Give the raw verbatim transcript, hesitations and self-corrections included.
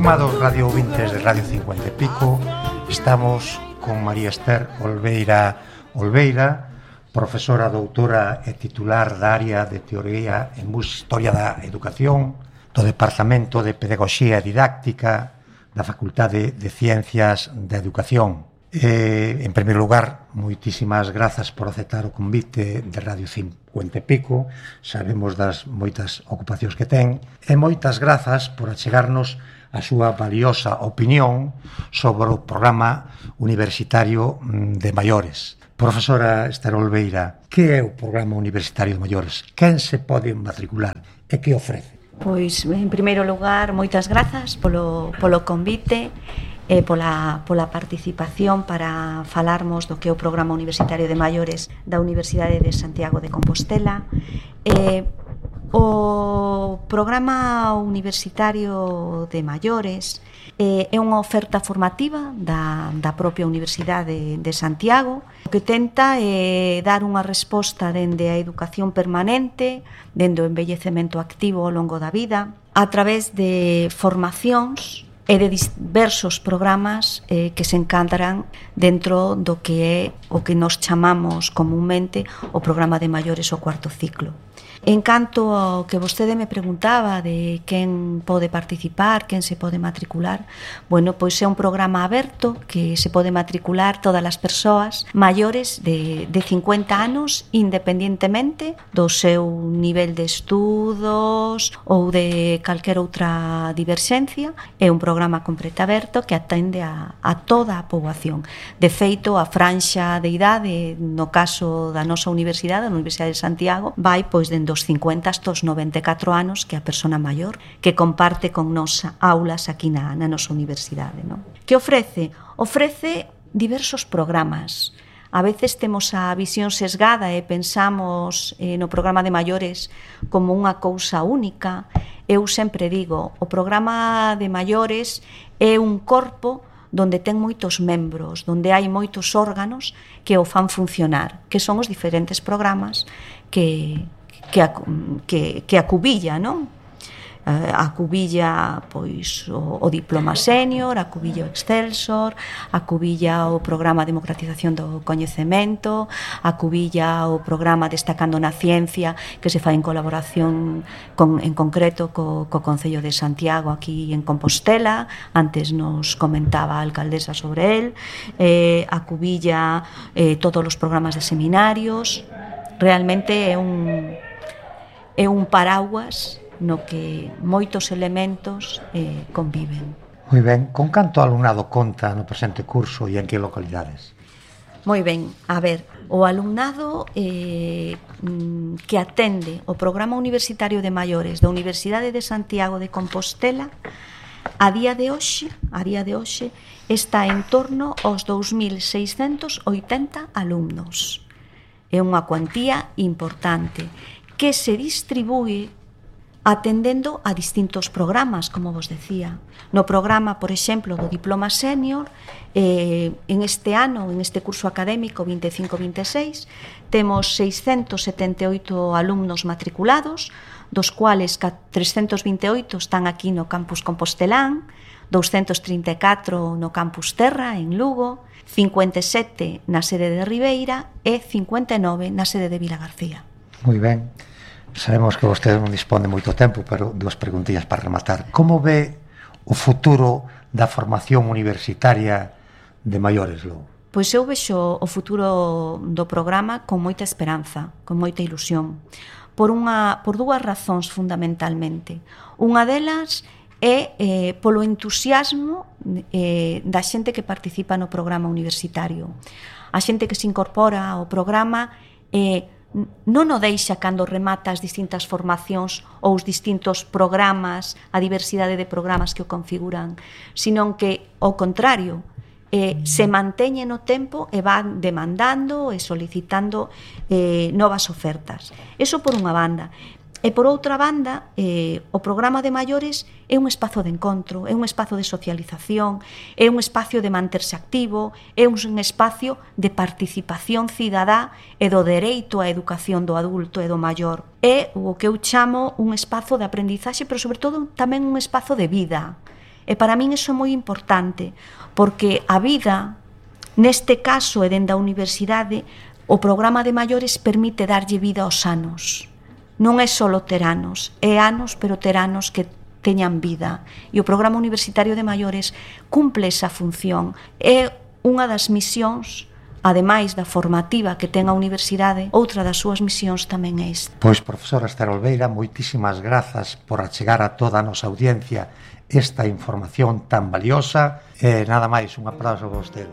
Estimados radio ouvintes de Radio cincuenta e pico, estamos con María Esther Olveira Olveira, profesora doutora e titular da área de Teoría e Historia da Educación do Departamento de Pedagogía e Didáctica da Facultade de Ciencias da Educación. Eh, en primeiro lugar, moitísimas grazas por aceptar o convite de Radio cincuenta e pico. Sabemos das moitas ocupacións que ten, e moitas grazas por achegarnos a súa valiosa opinión sobre o programa universitario de maiores. Profesora Esther Olveira, que é o programa universitario de maiores? Quen se pode matricular e que ofrece? Pois, en primeiro lugar, moitas grazas polo, polo convite e pola, pola participación para falarmos do que é o Programa Universitario de Maiores da Universidade de Santiago de Compostela. E, o Programa Universitario de Maiores eh, é unha oferta formativa da, da propia Universidade de Santiago, que tenta eh, dar unha resposta dende a educación permanente, dende o envellecemento activo ao longo da vida, a través de formacións e de diversos programas eh, que se encadran dentro do que é o que nos chamamos comúnmente o programa de maiores o cuarto ciclo. En canto ao que vostede me preguntaba de quen pode participar, quen se pode matricular, bueno, pois é un programa aberto que se pode matricular todas as persoas maiores de, de cincuenta anos, independientemente do seu nivel de estudos ou de calquer outra diverxencia. É un programa completo aberto que atende a, a toda a poboación. De feito, a franxa de idade, no caso da nosa universidade, a Universidade de Santiago, vai pois dende dos cincuenta hasta os noventa e catro anos, que é a persona maior que comparte con nos aulas aquí na, na nosa universidade, non? Que ofrece? Ofrece diversos programas. A veces temos a visión sesgada e pensamos eh, no programa de maiores como unha cousa única. Eu sempre digo, o programa de maiores é un corpo donde ten moitos membros, donde hai moitos órganos que o fan funcionar, que son os diferentes programas que que, que, que acubilla, non? Acubilla pois o, o diploma senior, acubilla o Excelsor, acubilla o programa de democratización do coñecemento, acubilla o programa Destacando na Ciencia, que se fai en colaboración con, en concreto co, co Concello de Santiago aquí en Compostela. Antes nos comentaba a alcaldesa sobre el. eh, acubilla eh, todos os programas de seminarios. Realmente é un é un paraguas no que moitos elementos eh, conviven. Moi ben, con canto alumnado conta no presente curso e en que localidades? Moi ben, a ver, o alumnado eh, que atende o Programa Universitario de Maiores da Universidade de Santiago de Compostela a día de hoxe, a día de hoxe está en torno aos dous mil seiscentos oitenta alumnos. É unha cuantía importante que se distribúe atendendo a distintos programas, como vos decía. No programa, por exemplo, do diploma senior, eh, en este ano, en este curso académico vinte e cinco vinte e seis, temos seiscentos setenta e oito alumnos matriculados, dos cuales trescentos vinte e oito están aquí no campus Compostelán, doscientos trinta e catro no campus Terra, en Lugo, cincuenta e sete na sede de Ribeira e cincuenta e nove na sede de Vilagarcía. Moi ben. Sabemos que vostede non dispón de moito tempo, pero dúas preguntillas para rematar. Como ve o futuro da formación universitaria de maiores, logo? Pois eu vexo o futuro do programa con moita esperanza, con moita ilusión, por, unha, por dúas razóns fundamentalmente. Unha delas é eh, polo entusiasmo eh, da xente que participa no programa universitario. A xente que se incorpora ao programa eh, non o deixa cando remata as distintas formacións ou os distintos programas, a diversidade de programas que o configuran, sino que, ao contrario, eh, se manteñe no tempo e van demandando e solicitando eh, novas ofertas. Eso por unha banda. E por outra banda, eh, o programa de maiores é un espazo de encontro, é un espazo de socialización, é un espacio de manterse activo, é un espacio de participación cidadá e do dereito á educación do adulto e do maior. É o que eu chamo un espazo de aprendizaxe, pero sobre todo tamén un espazo de vida. E para min iso é moi importante, porque a vida, neste caso e dende a universidade, o programa de maiores permite darlle vida aos anos. Non é só ter anos, é anos, pero ter anos que teñan vida. E o programa universitario de maiores cumple esa función. É unha das misións, ademais da formativa que ten a universidade, outra das súas misións tamén é esta. Pois, profesora Ester Olveira, moitísimas grazas por achegar a toda a nosa audiencia esta información tan valiosa. E nada máis, un aplauso a vostede.